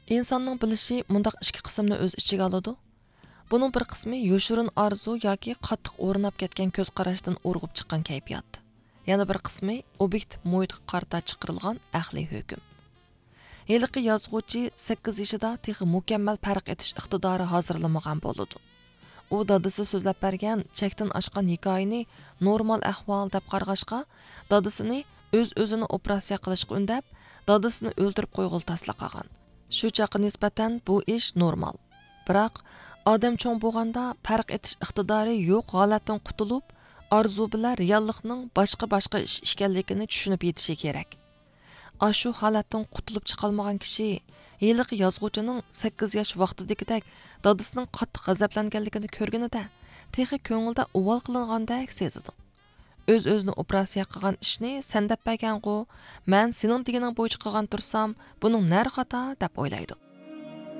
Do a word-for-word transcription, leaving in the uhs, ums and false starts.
ئىنساننىڭ بىلىشى مۇنداق ئىككى قىسىمنى ئۆز ئىچىگە ئالىدۇ. بۇنىڭ بىر قىسمى يوشۇرۇن ئارزۇ ياكى قاتتىق ئورناپ كەتكەن كۆز قاراشتىن ئۇرغۇپ چىققان كەيپىيات. يەنە بىر قىسمى ئوبيېكتىپ مۇھىتقا قارىتا چىقىرىلغان ئەقلىي ھۆكۈم. ھېلىقى يازغۇچى سەككىز يېشىدا تېخى مۇكەممەل پەرق ئېتىش ئىقتىدارى ھازىرلىمىغان بولىدۇ. ئۇ دادىسى سۆزلەپ بەرگەن چەكتىن ئاشقان ھېكايىنى نورمال ئەھۋال دەپ قارىغاچقا، دادىسىنى ئۆز-ئۆزىنى ئوپېراتسىيە قىلىشقا ئۈندەپ، دادىسىنى ئۆلتۈرۈپ قويغىلى تاسلا قالغان. شۇ چاغقا نىسبەتەن بۇ ئىش نورمال. بىراق، ئادەم چوڭ بولغاندا پەرق ئېتىش ئىقتىدارى يوق ھالەتتىن قۇتۇلۇپ، ئارزۇ بىلەن رېئاللىقنىڭ باشقا-باشقا ئىش ئىكەنلىكىنى چۈشىنىپ يېتىشى كېرەك. ئاشۇ ھالەتتىن قۇتۇلۇپ چىقالمىغان كىشى ھېلىقى يازغۇچىنىڭ سەككىز ياش ۋاقتىدىكىدەك دادىسىنىڭ قاتتىق غەزەپلەنگەنلىكىنى كۆرگىنىدە، تېخى كۆڭلىدە ئۇۋال قىلىنغاندەك سېزىدۇ. ئۆز-ئۆزىنى ئوپېراتسىيە قىلغان ئىشنى سەن دەپ بەرگەنغۇ، مەن سېنىڭ دېگىنىڭ بويىچە قىلغان تۇرسام، بۇنىڭ نەرى خاتا دەپ